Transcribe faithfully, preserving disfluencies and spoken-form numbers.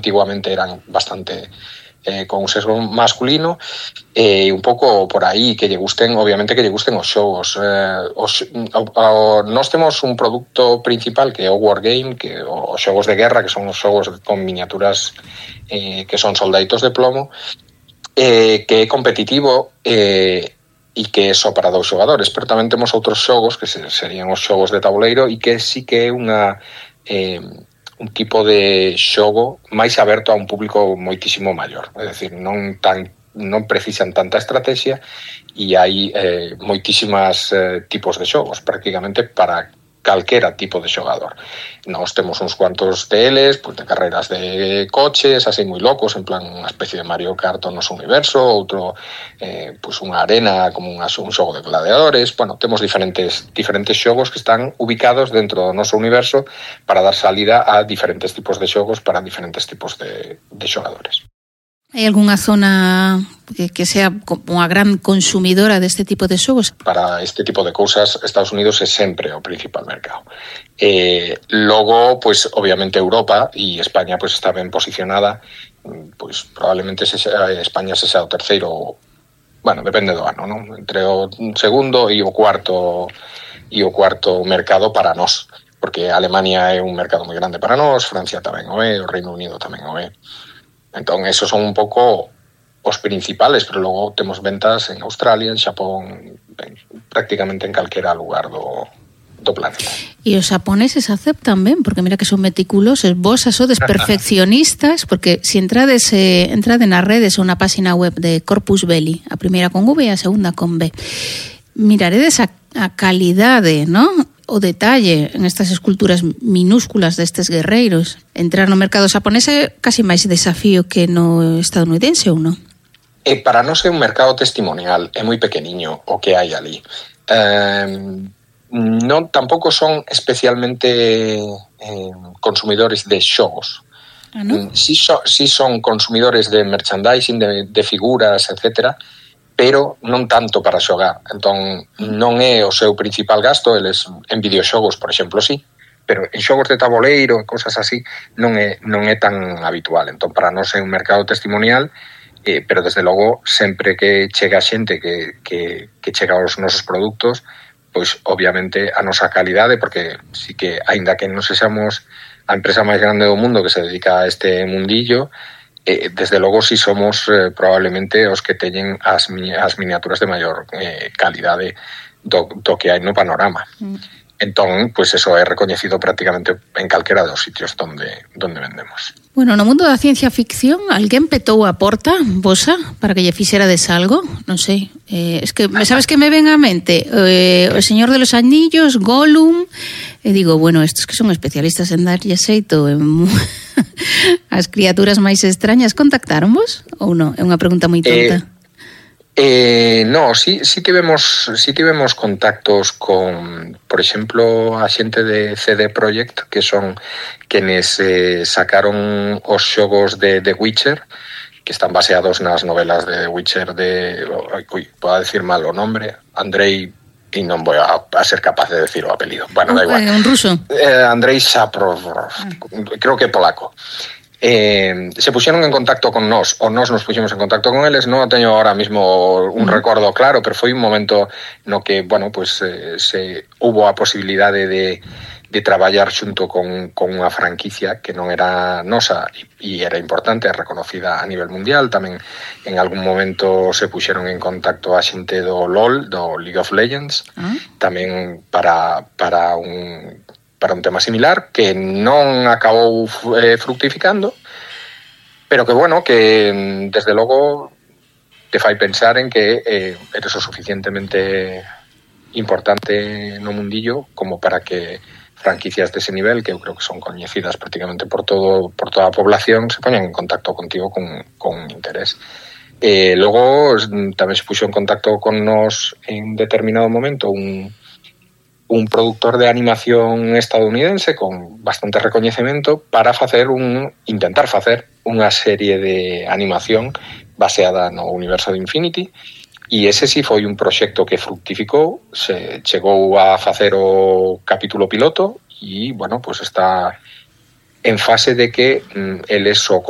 antiguamente eran bastante eh, con un sesgo masculino, e eh, un pouco por aí que lle gusten, obviamente que lle gusten os xogos. Eh, os, o, o, nós temos un produto principal que é o Wargame, que os xogos de guerra, que son os xogos con miniaturas eh, que son soldaditos de plomo, eh, que é competitivo eh, e que é só para dous xogadores, pero tamén temos outros xogos que serían os xogos de tabuleiro e que sí que é unha eh, un tipo de xogo máis aberto a un público moitísimo maior, é dicir, non tan non precisan tanta estrategia e hai eh, moitísimas eh, tipos de xogos, prácticamente para calquera tipo de xogador. Nós temos uns cuantos deles, pues, de carreras de coches, así moi locos, en plan unha especie de Mario Kart no noso universo, outro, eh, pues, unha arena como un, un xogo de gladiadores. Bueno, temos diferentes, diferentes xogos que están ubicados dentro do noso universo para dar salida a diferentes tipos de xogos para diferentes tipos de, de xogadores. Hai algunha zona que, que sea unha gran consumidora deste tipo de xogos? Para este tipo de cousas, Estados Unidos é sempre o principal mercado. Eh, logo, pues, obviamente, Europa e España pues, está ben posicionada. Pues, probablemente se sea, España se sea o terceiro, bueno, depende do ano, ¿no? Entre o segundo e o cuarto e o cuarto mercado para nós. Porque Alemania é un mercado moi grande para nós, Francia tamén o é, o Reino Unido tamén o é. Entón, esos son un pouco os principales, pero logo temos ventas en Australia, en Xapón, en, prácticamente en calquera lugar do, do planeta. E os xaponeses aceptan ben, porque mira que son meticulosos, vos sodes perfeccionistas, porque se si entrades, eh, entrade nas redes ou na página web de Corpus Belli, a primeira con V e a segunda con B, miraredes a, a calidade, non? O detalle en estas esculturas minúsculas destes guerreiros. Entrar no mercado xaponés é casi máis desafío que no estadounidense, ou non? E para nós é un mercado testimonial, é moi pequeniño o que hai ali. Eh, non tampouco son especialmente eh, consumidores de xogos. Ah, non? Si, so, si son consumidores de merchandising, de, de figuras, etcétera, pero non tanto para xogar. Entón, non é o seu principal gasto, eles en videoxogos, por exemplo, sí, pero en xogos de tabuleiro e cosas así non é, non é tan habitual. Entón, para nós é un mercado testimonial, eh, pero desde logo, sempre que chega xente que, que, que chega aos nosos produtos, pois, obviamente, a nosa calidade, porque sí que, aínda que non sexamos a empresa máis grande do mundo que se dedica a este mundillo, Eh, desde logo si somos eh, probablemente os que teñen as, as miniaturas de maior eh, calidade do, do que hai no panorama. Mm. Entón, pues eso é recoñecido prácticamente en calquera dos sitios donde, donde vendemos. Bueno, no mundo da ciencia ficción, alguén petou a porta, vosa, para que lle fixerades algo? Non sei. Eh, es que, sabes que me ven á mente? Eh, o Señor de los Anillos, Gollum, e digo, bueno, estos que son especialistas en darlle xeito en as criaturas máis extrañas, contactaronvos ou non? É unha pregunta moi tonta. Eh, eh, no, sí, sí tivemos sí tivemos contactos con, por exemplo, a xente de C D Projekt, que son quenes eh, sacaron os xogos de The Witcher, que están baseados nas novelas de The Witcher de, uy, podo decir mal o nombre, Andrei, y non vou a, a ser capaz de decir o apelido. Bueno, da igual. Un ruso. Eh, Andrei Saprov, creo que polaco. Eh, se puxeron en contacto con nós, ou nós nos puxemos en contacto con eles, non teño ahora mismo un mm. recordo claro, pero foi un momento no que, bueno, pues eh, se hubo a posibilidade de de traballar xunto con, con unha franquicia que non era nosa e era importante, reconocida a nivel mundial. Tamén en algún momento se puxeron en contacto a xente do LOL, do League of Legends, ¿Ah? tamén para, para, un, para un tema similar, que non acabou eh, fructificando, pero que, bueno, que desde logo te fai pensar en que eh, eres o suficientemente importante no mundillo como para que franquicias dese nivel, que eu creo que son coñecidas prácticamente por todo por toda a población, se poñan en contacto contigo con, con interés. Eh, logo tamén se puxo en contacto con nos en determinado momento un, un productor de animación estadounidense con bastante recoñecemento para facer un intentar facer unha serie de animación baseada no universo de Infinity. E ese sí foi un proxecto que fructificou, se chegou a facer o capítulo piloto e, bueno, pues está en fase de que mm, eles o